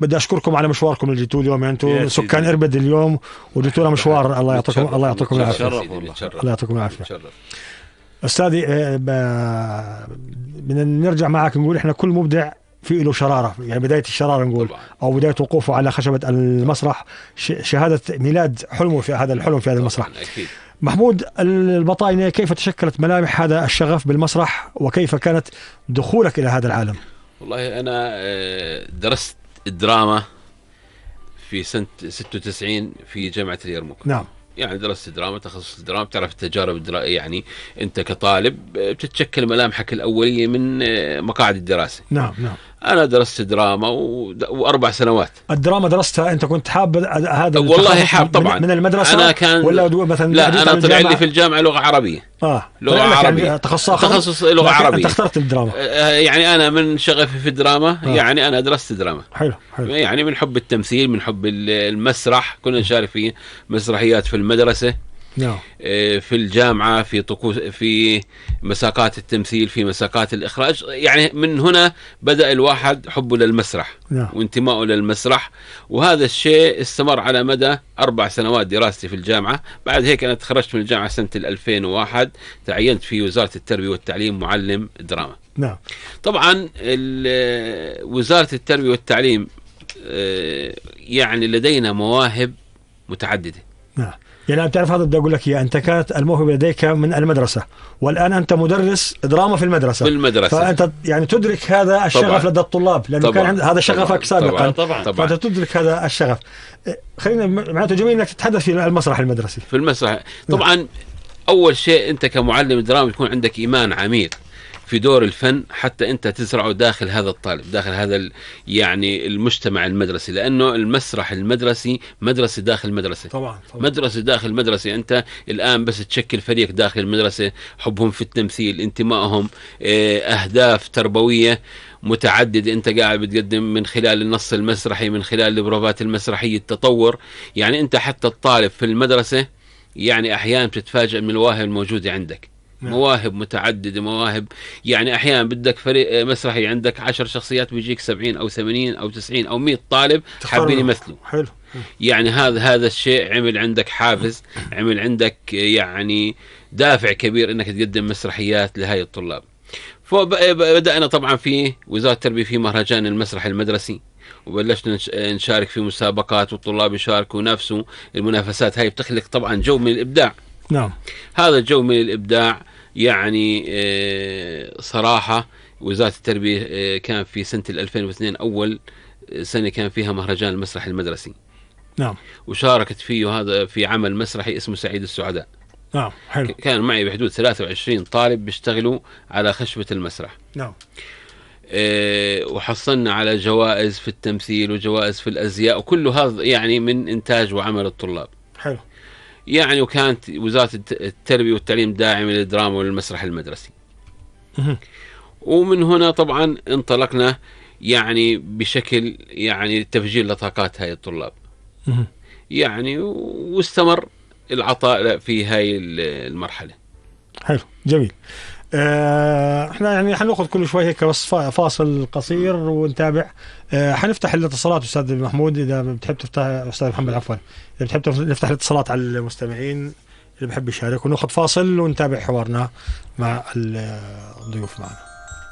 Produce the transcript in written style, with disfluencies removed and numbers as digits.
بدي أشكركم على مشواركم اللي جيتوا اليوم. يعني أنتم سكان إربد اليوم وجيتوا لنا مشوار. الله يعطيكم العافية. الله يعطيكم العافية. أستاذي بدنا نرجع معك نقول إحنا كل مبدع في له شرارة، يعني بداية الشرارة نقول طبعا. أو بداية وقوفه على خشبة المسرح شهادة ميلاد حلمه في هذا الحلم في هذا المسرح. أكيد. محمود البطاينة، كيف تشكلت ملامح هذا الشغف بالمسرح وكيف كانت دخولك إلى هذا العالم؟ والله أنا درست الدراما في سنة 96 في جامعة اليرموك. نعم. يعني درست دراما، تخصص الدراما، بتعرف التجارب الدراسية، يعني أنت كطالب بتتشكل ملامحك الأولية من مقاعد الدراسة. نعم. أنا درست دراما و4 سنوات. الدراما درستها أنت كنت حاب هذا؟ والله حاب طبعا. من المدرسة أنا كان ولا مثلا؟ لا، أنا طلع لي في الجامعة لغة عربية. لغة عربية يعني تخصص لغة عربية. أنت اخترت الدراما. يعني أنا من شغفي في الدراما يعني أنا درست دراما. حلو. يعني من حب التمثيل، من حب المسرح، كنا نشارك في مسرحيات في المدرسة. في الجامعة، في طقوس، في مساقات التمثيل، في مساقات الإخراج. يعني من هنا بدأ الواحد حبه للمسرح وانتمائه للمسرح، وهذا الشيء استمر على مدى 4 سنوات دراستي في الجامعة. بعد هيك أنا تخرجت من الجامعة سنة 2001، تعينت في وزارة التربية والتعليم معلم دراما. طبعا وزارة التربية والتعليم يعني لدينا مواهب متعددة. يعني بتعرف هذا بدي أقول لك أنت كانت الموهبة لديك من المدرسة، والآن أنت مدرس دراما في المدرسة. فأنت يعني تدرك هذا الشغف لدى الطلاب، لأنه كان هذا شغفك سابقا. طبعا. فأنت تدرك هذا الشغف. خلينا معناته جميل أنك تتحدث في المسرح المدرسي. في المسرح طبعا. أول شيء أنت كمعلم دراما يكون عندك إيمان عميق في دور الفن، حتى أنت تزرعه داخل هذا الطالب، داخل هذا يعني المجتمع المدرسي، لأنه المسرح المدرسي مدرسة داخل مدرسة. طبعا. مدرسة داخل مدرسة. أنت الآن بس تشكل فريق داخل المدرسة، حبهم في التمثيل، انتمائهم، أهداف تربوية متعددة أنت قاعد بتقدم من خلال النص المسرحي، من خلال البروفات المسرحية، التطور. يعني أنت حتى الطالب في المدرسة يعني أحيانا بتتفاجأ من المواهب الموجودة عندك. مواهب متعددة، مواهب يعني أحيانا بدك فريق مسرحي عندك 10 شخصيات، بيجيك 70 أو 80 أو 90 أو 100 طالب حابين يمثلوا. حلو. يعني هذا الشيء عمل عندك حافز، عمل عندك يعني دافع كبير إنك تقدم مسرحيات لهاي الطلاب. فبدأنا طبعا في وزارة التربية في مهرجان المسرح المدرسي، وبلشنا نشارك في مسابقات، والطلاب يشاركوا نفسه. المنافسات هاي بتخلق طبعا جو من الإبداع. نعم. هذا الجو من الإبداع يعني صراحة وزارة التربية كان في سنة 2002 أول سنة كان فيها مهرجان المسرح المدرسي. نعم. وشاركت فيه هذا في عمل مسرحي اسمه سعيد السعداء. نعم. حلو. كان معي بحدود 23 طالب بيشتغلوا على خشبة المسرح. نعم. وحصلنا على جوائز في التمثيل وجوائز في الأزياء، وكل هذا يعني من إنتاج وعمل الطلاب. حلو. يعني وكانت وزارة التربية والتعليم داعمة للدراما والمسرح المدرسي. ومن هنا طبعا انطلقنا يعني بشكل يعني تفجير لطاقات هاي الطلاب. يعني واستمر العطاء في هاي المرحلة. حلو. جميل. احنا يعني حناخذ كل شوي هيك بس فاصل قصير ونتابع. حنفتح الاتصالات استاذ محمود، اذا بتحب تفتح استاذ محمد عفوا، اذا بتحب نفتح الاتصالات على المستمعين اللي بحب يشارك، وناخذ فاصل ونتابع حوارنا مع الضيوف معنا.